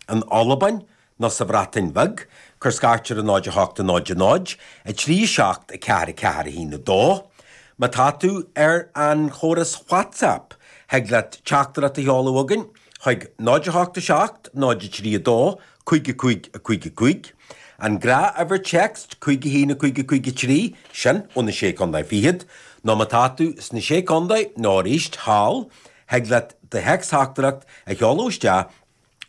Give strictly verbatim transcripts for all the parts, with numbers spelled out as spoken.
in Albain nó sa Bhreatain Bheag, cuir scairt ar a náid a hocht a náid a náid, a trí a seacht a ceathair a ceathair a haon a dó. Má tá tú ar an chóras WhatsApp, thig leat teachtaireacht a sheoladh chugainn chuig náid a hocht a seacht náid a trí a dó cúig a cúig a cúig a cúig. An gnáthuimhir téacs cúig a haon a cúig a cúig a trí, sin ó na Sé Contae Fichead, nó má tá tú sna Sé Contae nó arís thall, thig leat do théacstheachtaireacht a sheoladh isteach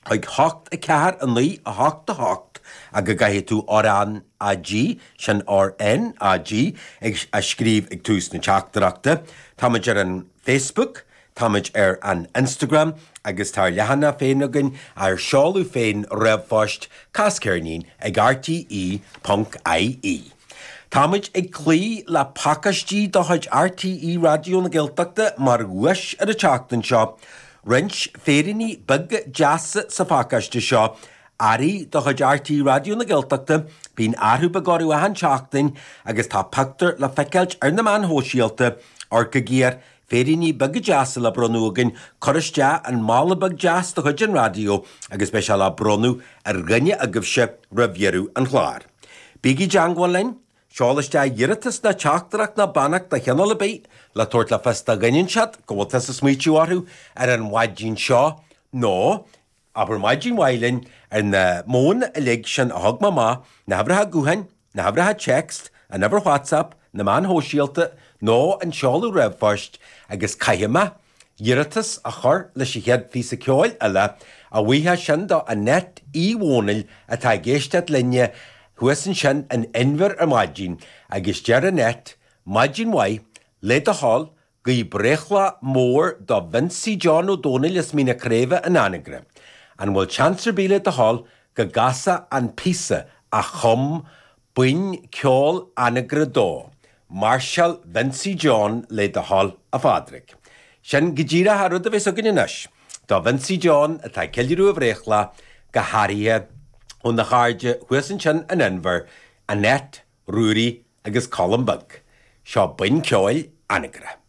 chuig hocht a ceathair a naoi a hocht a hocht ach go gcaithfidh tú R N A G, sin R N A G, ag a scríobh ag tús na teachtaireachta. Táimid ar an Facebook, táimid ar an Instagram agus tá ár leathanach féin againn ar seoladh féin ríomhphoist casceirnín ag R T E ponc I E. Táimid ag cloí le pacáistí de chuid R T E Raidió na Gaeltachta mar dhuais ar an tseachtain seo. Roinnt féiríní beaga deasa sa phacáiste seo, earraí de chuid R T E Raidió na Gaeltachta, bíonn athrú beag orthu achan tseachtain agus tá pictiúr le feiceáilt ar na meáin shóisialta, amharc go géar, féiríní beaga deasa le bronnadh againn, cuir isteach an mála beag deas de chuid an raidió agus beidh sé le bronnadh ar dhuine agaibhse roimh dheireadh an chláir. Bígí i dteangmháil linn, seol isteach iarratas ná teachtaireacht ná beannacht de chineál ar bith le tabhairt le fios do dhuine inteacht go bhfuil tusa ag smaoitiú orthu ar an mhaidin seo nó abair maidin mhaith linn ar na modhanna uilig sin a thug mé amach, na huimhreacha gutháin, na huimhreacha téacs, an uimhir WhatsApp, na meáin shóisialta nó an seoladh ríomhphoist agus caithfidh mé iarratas a chur leis an chéad phíosa ceoil eile, a bhuíochas sin do Annette Uí Dhónaill atá ag éisteacht linne thuas ansin in Inbhir ar maidin agus deir Annette, maidin mhaith, le do thoil, guí breithlá mór do Vincie John Ó Dónaill as Mín na Craoibhe in Anagaire. An bhfuil seans ar bith le do thoil go gcasfá an píosa a chum Buíon Ceoil Anagaire dó, Máirseáil Vincie John le do thoil, a Phádraig. Sin go díreach an rud a bheas againn anois do Vincie John atá ag ceiliúradh a bhreithlá, go háirithe óna chairde thuas ansin in Inbhir, Annette, Ruairí agus Colm Beag. Seo Buíon Ceoil Anagaire.